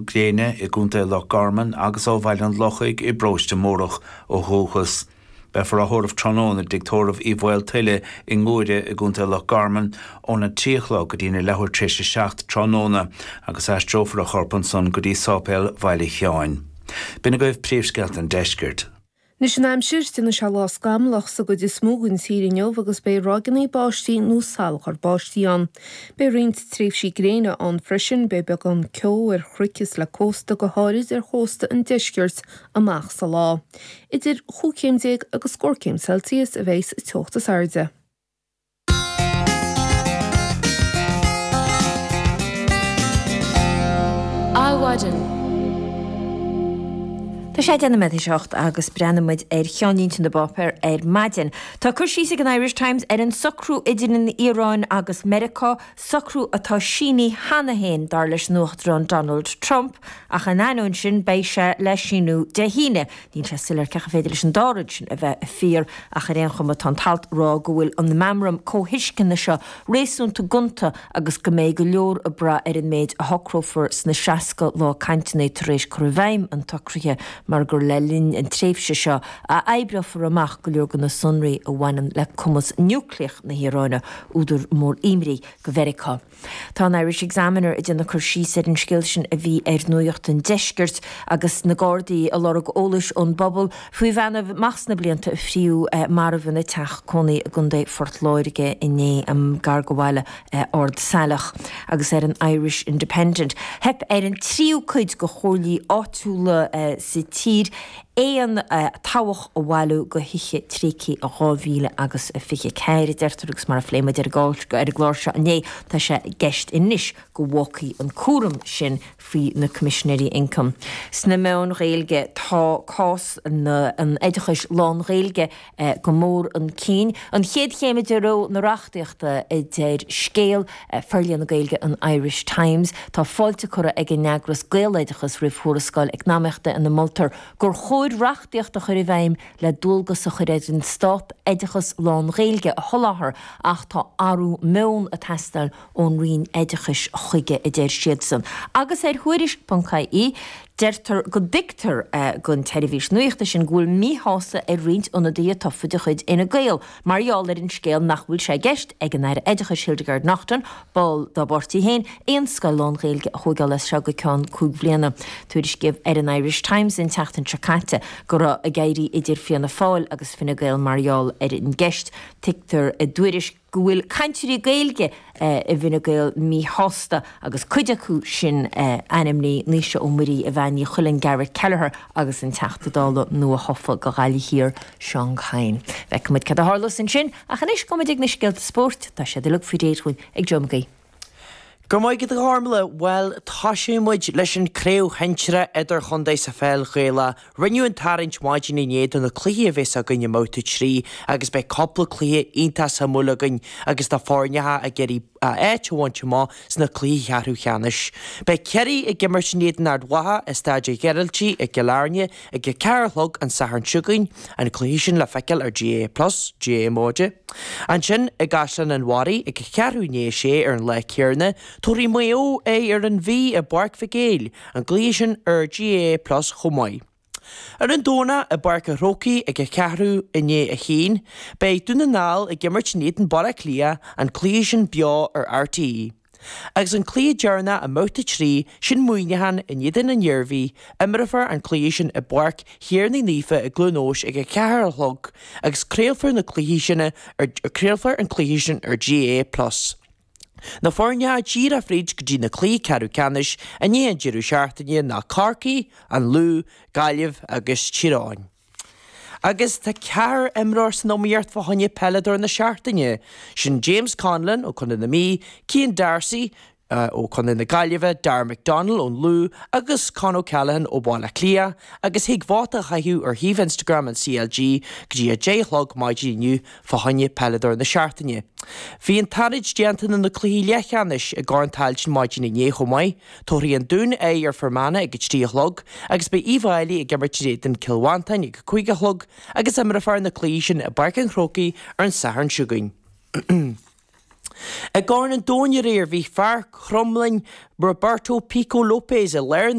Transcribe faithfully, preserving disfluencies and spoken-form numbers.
Gréine i gContae Loch Garman agus ó Bhaile an Lochaigh i bParóiste Mórdhach ó dhúchas. Beifear á thórramh tráthnóna i dtigh tórraimh Uí Mhaoltuile i nGuaire i gContae Loch Garman óna trí a chlog go dtí na leathuair tar éis a seacht tráthnóna agus aistreofar a chorp ansan go dtí Sáipéal Bhaile Sheáin. B'in agaibh príomhscéalta an deiscirt. Anois an aimsir, déanfaidh sé lá scamallach sa gcuid is mó den tír inniu agus beidh ráigeanna báistí nó salachar báistí ann. Beidh roinnt tréimhsí gréine ann freisin, beidh beagán ceo ar chnoic is le cósta go háirid ar chósta an deiscirt amach sa lá. Idir chúig chéim déag agus scór céim Celsius a bheidh sa teocht is airde. Adhmhaidin. Tá sé deich nóiméad théis a hocht agus breathnaíonn muid ar cheannlínte na bpáipéar ar maidin. Tá cur síos ag an Irish Times ar an socrú idir an Iaráin agus Meiriceá, socrú atá sínithe cheana féin, dar leis an Uachtarán Donald Trump, ach in ainneoin sin beidh sé le síniú Dé hAoine. Níl sé soiléir cén chaoi ar féidir leis an dá rud sin a bheith fíor ach ar aon chuma tá an t-alt ag rá go bhfuil an meamram comhthuisceana seo réasúnta gonta agus go mbeidh go leor ag brath ar an méid a shocrófar sna seasca lá cainteanna tar éis cur i bhfeidhm an tsocraithe mar gur le linn an tréimhse seo a oibreofar amach go leor de na sonraí a bhaineann le cumas núicléach na hIaráine, údar mór imní do Mheiriceá. Tá an Irish Examiner ag déanamh cur síos ar an scéal sin a bhí ar Nuacht an Deiscirt agus na Gardaí ag lorg eolais ón bpobal faoi bhean amach sna blianta a fríodh marbh ina teach cónaí i gContae Phort Láirge inné, gar do bhaile Ard Saileach. Agus ar an Irish Independent, theip ar an tríú cuid de chomhairlí áitiúla sa tír aon tobhach a bhailiú do thithe tréigthe dhá mhíle agus a fiche ceathair, a deirtear, agus mar a phléigh muid ar an gclár seo inné, tá sé i gceist anois go bhfágfaí an cúram sin faoi na Coimisinéirí Ioncaim. Sna meáin Ghaeilge, tá cás an oideachais lán-Ghaeilge go mór chun cinn. An chéad chéim i dtreo na reachtaíochta, a deir scéal Forlíonadh Gaeilge an Irish Times. Tá fáilte curtha ag an eagras Gaeloideachas roimh thuarascáil eacnamaíochta ina moltar gur chóir reachtaíocht a chur i bhfeidhm le dualgas a chur ar an stát oideachas lán-Ghaeilge a sholáthar ach tá athrú meoin ag teastáil ón Roinn Oideachais chuige, a deir siadsan. Agus ar Thuairisc ponc ie, deirtear go dtuigtear don tseirbhís nuachta sin go bhfuil míshásamh ar roinnt ionadaithe tofa de chuid Fhine Gael mar gheall ar an scéal nach bhfuil sé i gceist ag an Aire Oideachais Hildegarde Naughton, ball dá bpáirtí féin, aon scoil lán-Ghaeilge a thóigeáil as seo go ceann cúig bhliana. Tuairiscíodh ar an Irish Times an tseachtain seo caite go raibh ag éirí idir Fianna Fáil agus Fine Gael mar gheall ar an gceist. Tuigtear i dtuairisc go bhfuil cainteoirí Gaeilge i bhFine Gael míshásta agus cuid acu sin ainmnithe, Naoise Ó Muirí, Evanne Ní Chuilinn, Garrett Kelleher agus an Teachta Dála nua-thofa do Ghaillimh Thiar, Seán Kyne. Feicfidh muid cad a tharlós ansin ach anois gabhfaidh muid ag na scéalta spóirt, tá siad uilig faoi réir dhúinn ag Joe Mag Aoidh. Go raibh maith agat a Ghormlaith. Bhuel, toiseoidh muid leis an Craobh Shinsearach Idirchontae sa Pheil Ghaelach. Rinneadh an tarraingt maidin inné do na cluichí a bheas againn i mbabhta trí agus beidh cúpla cluiche iontach suimiúil againn agus na foirne ag iarraidh áit a bhaint amach sna cluichí ceathrú cheannais. Beidh Ciarraí ag imirt in éadan Ard Mhacha i Staid an Ghearaltaigh i gCill Airne ag a ceathair a chlog an Satharn seo chugainn, an cluiche sin le feiceáil ar GAA Plus, GAA Móide. Ansin, i gCaisleán an Bharraigh ag a ceathrú i ndiaidh a sé ar an lá céanna, tabharfaidh Maigh Eo aghaidh ar an Mhí i bPáirc Mhic Éil, an cluiche sin ar GAA Plus chomh maith. Ar an Domhnach, i bPáirc an Chrócaigh ag a ceathrú i ndiaidh a haon, beidh Dún na nGall ag imirt in éadan Baile Átha Cliath, an cluiche sin beo ar RTÉ. Agus an cluiche deireanach i mbabhta trí, sin Muineachán in éadan an Iarmhí, imreofar an cluiche sin i bPáirc Thiarnaigh Naofa i gCluain Eois ag a ceathair a chlog agus craolfar na cluichí sin ar craolfar an cluiche sin ar GAA Plus. Na foirne a d'éirigh fríd go dtí na cluichí ceathrú ceannais i ndiaidh an deireadh seachtaine ná Corcaigh, An Lú, Gaillimh agus Tír Eoghain. Agus tá ceathrar imreoir san iomaíocht fá choinne Peileadóir na Seachtaine. Sin James Conlon ó Chontae na Mí, Cian D'Arcy ó Chontae na Gaillimhe, Darragh McDonnell ón Lú agus Con O'Callaghan ó Bhaile Átha Cliath agus thig vóta a chaitheamh ar shuíomh Instagram an CLG go dtí a deich a chlog maidin inniu fá choinne Peileadóir na Seachtaine. Bhí an tarraingt déanta do na cluichí leathcheannais i gCorn Tailteann maidin inné chomh maith. Tabharfaidh an Dún aghaidh ar Fear Manach ag a trí a chlog agus beidh Uíbh Fhailí ag imirt in éadan Cill Mhantáin ag a cúig a chlog agus imreofar na cluichí sin i bPáirc an Chrócaigh ar an Satharn seo chugainn. I gCorn an Domhain aréir bhí fear Chromghlinne Roberto Pico Lopes i lár na